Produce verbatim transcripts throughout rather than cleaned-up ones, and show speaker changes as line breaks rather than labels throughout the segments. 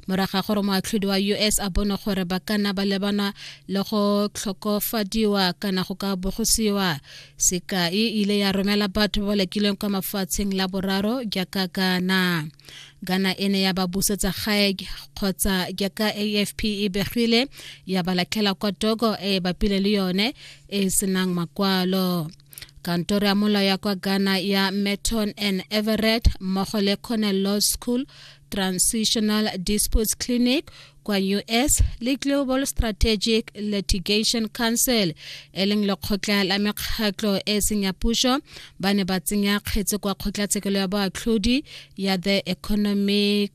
Morago ga gore moatlhodi wa U S a bone gore ba ka nna ba lebana le go tlhokofadiwa kana go ka bogosiwa. Sekai e ile ya romela batho ba ba lekilweng kwa mafatsheng la boraro jaaka Ghana. Ghana e ne ya ba busetsa gae kgotsa jaaka A F P e begile ya ba latlhela kwa Togo e e bapile le yone e e senang makwalo. Kantoro ya molao ya kwa Ghana ya Merton and Everett mmogo le Cornell Law School Transitional Disputes Clinic kwa U S le Global Strategic Litigation Council e leng lekgotla la mekgatlo e seng ya puso ba ne ba tsenya kgetse kwa kgotlatshekelo ya boatlhodi ya The Economic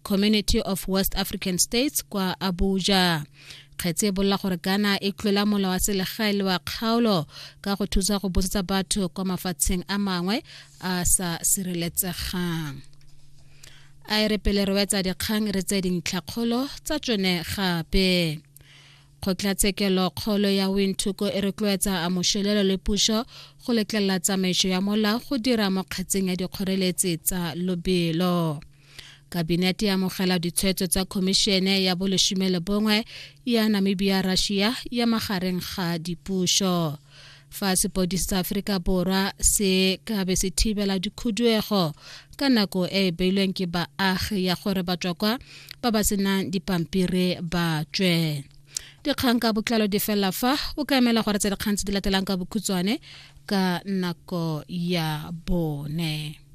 Community of West African States kwa Abuja. Kgetse e bolela gore Ghana e tlola molao wa selegae le wa kgaolo ka go thusa go busetsa batho kwa mafatsheng a mangwe a sa sireletsegang. A e re pele re wetsa dikgang re tse dintlhakgolo tsa tsone gape. Kgotlatshekelo kgolo ya Windhoek e rotloetsa Amoshilelo le puso go letlelela tsamaiso ya molao go dira mo kgetseng ya dikgoreletsi tsa lobelo. Kabinete ya amogela ditshwetso tsa khomišene ya bolesome le bongwe ya Namibia Russia ya magareng ga dipuso. Fa sepodisi sa Aforika Borwa se ka be se thibela dikhuduego ka nako e e beilweng ke baagi ya gore batswakwa ba ba senang dipampiri ba tswe. Dikgang ka botlalo di fela fa o ka emela gore tse dikgang tse di latelang ka bokhutshwane ka nako ya bone.